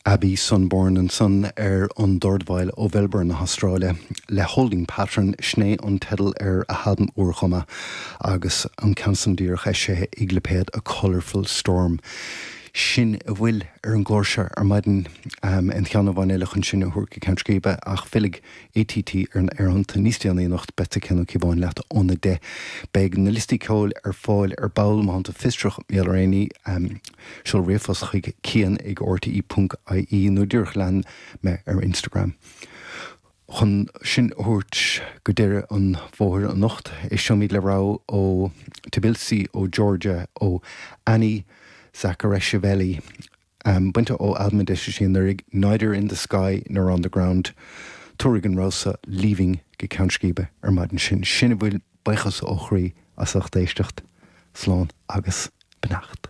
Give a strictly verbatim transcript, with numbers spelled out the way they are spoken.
Abby Sunborn ansan ar an dordveidhil ó Mhelbourne na hAstráile le Holding Pattern sin é an teideal ar a halbam úr agus an ceann san díreach eisithe ag lipéad A Colourful Storm. Sin a bhfuil ar an gclár seo ar maidin um, an ceann amháin eile chun sinn a thabhairt go ceann scríbe ach fillfidh ATT ar an aerthonnta níos déanaí anocht beidh Cian Ó Cíobháin leat óna deich. Beidh na liostaí ceoil ar fáil ar ball má tá tú fiosrach mar éiní um, seol ríomhphost chuig cian ag RTE ponc IE nó díreach lean mé ar Instagram. Chun sinn a thabhairt go deireadh an bhóthair anocht éisteoimid le rogha ó Tbilisi ó Georgia ó Annie Zakareishvili um, bainte ó albam a d'eisigh sí anuraidh Neither in the Sky nor on the Ground tabharfaidh an rogha seo Leaving go ceann scríbe ar maidin sin sin a bhfuil buíochas ó chroí as ucht éisteacht slán agus beannacht.